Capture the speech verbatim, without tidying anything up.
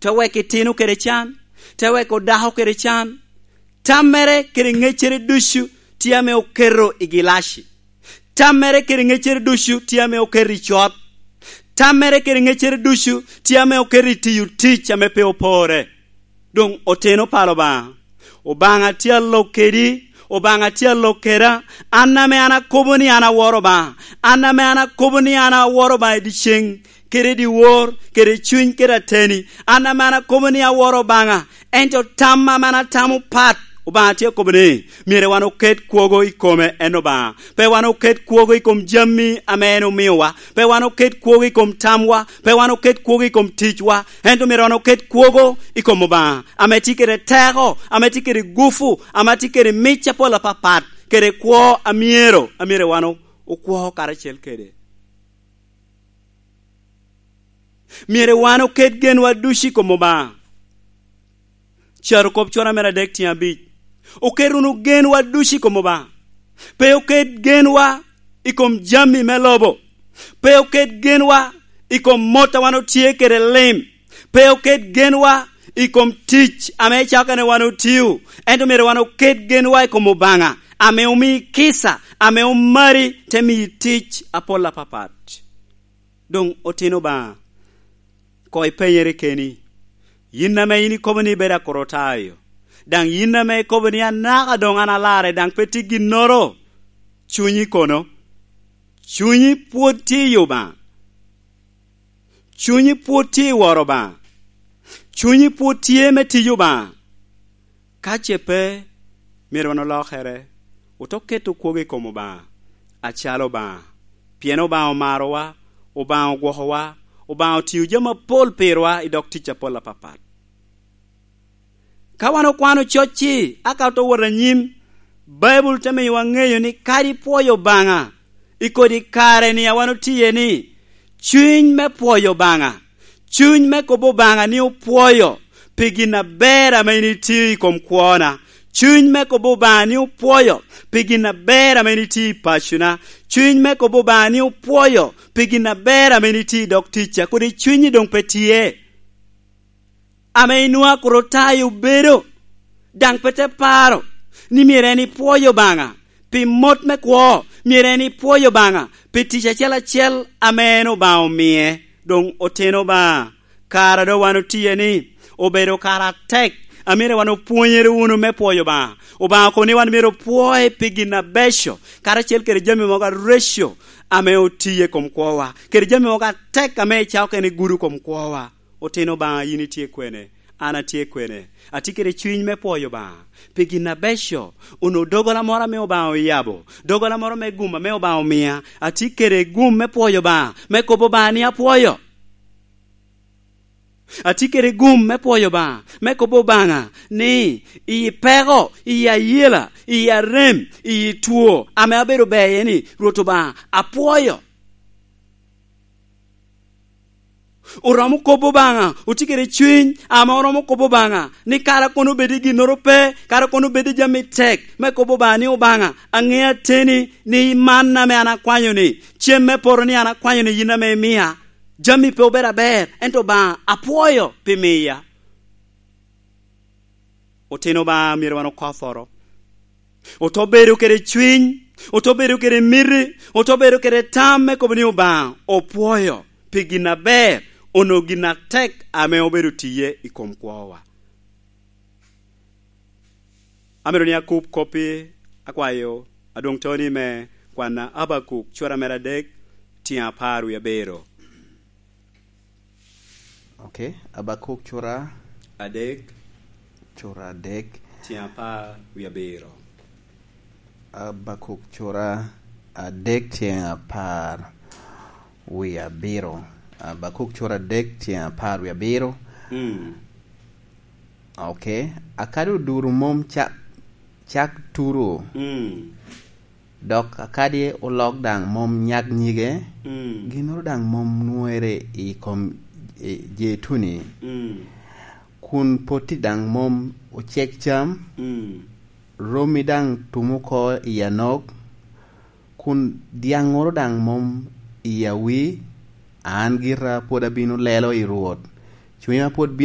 te weko itino kede can, te weko dako kede can. Tammere kede ŋeccere ducu tye ame oketo i gilaci. Tammere kede ŋeccere ducu tye ame oketo i cot. Tammere kede ŋeccere ducu tye ame oketo i tiyo tic ame pe opore. Doŋ oteno palo Obaŋa. Obaŋa tye alok kedi, Obaŋa tye alok keda. An ame an akobo ni an aworo Obaŋa. An ame an akobo ni an aworo Obaŋa i dyeceŋ, kede i dyewor, kede i cuny, kede ateni. An ame an akobo ni aworo Obaŋa. Ento tam ame an atamo pat, Obaŋa tye akobo ni, myero wan oket kwogo i kome en Obaŋa. Pe wan oket kwogo i kom jami ame en omiowa. Pe wan oket kwogo i kom tamwa. Pe wan oket kwogo i kom ticwa. Ento myero wan oket kwogo i kom Obaŋa, ame tye kede teko, ame tye kede gufu, ame tye kede mic apol apapat, kede kwo a myero, a myero wan o-, okwo karacel kede. Myero wan oket genwa ducu i kom Obaŋa. Carokop cura mere adek tyen abic. Oket wunu genwa ducu i kom Obaŋa. Pe oket genwa i kom jami me lobo. Pe oket genwa i kom mot a wan otye kede lim. Pe oket genwa i kom tic ame icako kene wan otio. Ento myero wan oket genwa i kom Obaŋa, ame omii kica, ame omari, te mii tic apol apapat. Doŋ otino Obaŋa, koŋ ipenyere keni, yin ame yin ikobo ni ibedo Akorotayo, daŋ yin ame ikobo ni anaka doŋ an alarre, daŋ pe tye ginnoro, cunyi kono? Cunyi pwod tye i Obaŋa? Cunyi pwod tye i woro Obaŋa? Cunyi pwod tye me tiyo Obaŋa? Ka ce pe, myero wan olokere, ote keto kwogo i kom Obaŋa, acalo Obaŋa, pien Obaŋa omarowa, Obaŋa ogwokowa, Obaŋa otio jami apol pirwa i dog tic apol apapat. Ka wan okwano cocci, aka ote wot anyim, Baibul te miyowa ŋeyo ni kadi pwoyo Obaŋa i kodi kare-ni a wan otiye-ni, cuny me pwoyo Obaŋa, cuny me kobo Obaŋa ni opwoyo pi gin aber ame in itio i kom kwona, cuny me kobo Obaŋa ni opwoyo pi gin aber ame in itio i pacona, cuny me kobo Obaŋa ni opwoyo pi gin aber ame in itio i dog ticca, kodi cunyi doŋ pe tye. Ame inwoŋo Akorotayo obedo, daŋ pe te paro ni myero en ipwoyo Obaŋa pi mot me kwo, myero en ipwoyo Obaŋa pi tic acel acel ame en Obaŋa omie. Doŋ otino Obaŋa, kara doŋ wan otiye ni, obedo kara atek, a myero wan opwonyere wunu me pwoyo Obaŋa. Obaŋa okobo ni wan myero opwoye pi gin abeco, karacel kede jami mogo areco ame otiye i kom kwowa, kede jami mogo atek ame icako kene gudo i kom kwowa. Otino Obaŋa, yin itye kwene? An atye kwene? Atye kede cuny me pwoyo Obaŋa pi gin abeco, onwoŋo doggola moro ame Obaŋa oyabo, doggola moro me gum ame Obaŋa omia. Atye kede gum me pwoyo Obaŋa, me kobo Obaŋa ni apwoyo. Atye kede gum me pwoyo Obaŋa, me kobo Obaŋa ni, i peko, i ayela, i arem, i two ame abedo beye ni, Rwot Obaŋa, apwoyo. Oromo kobo Obaŋa, otye kede cuny ame oromo kobo Obaŋa ni kara kono obed i ginnoro pe, kara kono obed i jami tek, me kobo Obaŋa ni, Obaŋa, aŋeo ateni ni man ame an akwanyo-ni, cem me poto ni an akwanyo-ni yin ame imia. Jami pe obedo aber, ento Obaŋa, apwoyo pi miya. Otino Obaŋa myero wan okoforo. Ote bedo kede cwiny, ote bedo kede miti, ote bedo kede tam me kobo ni Obaŋa opwoyo pi gin aber, onwoŋo gin atek ame obedo tiye i kom kwowa. Amito ni akub koppi, akwayo adwoŋ toni me kwanna Abakuk cura mere adek, tyen apar wie abiro. Ok, Abakuk cura adek, cura adek, tyen apar wie abiro. Abakuk cura adek, tyen apar wie abiro. Abakuk cura adek, tyen apar wie abiro. Mm. Ok, akadi oduro mom cak, cak turo. Mm. Dok akadi olok daŋ mom nyak nyige, mm, ginnoro daŋ mom nwoŋere i kom, i, jeituni, mm, kun potti daŋ mom ocek cam, mm, romi daŋ tum oko i anok, kun dyaŋŋoro daŋ mom i awi, an gira pwod abino lelo i Rwot. Cunya pwod bino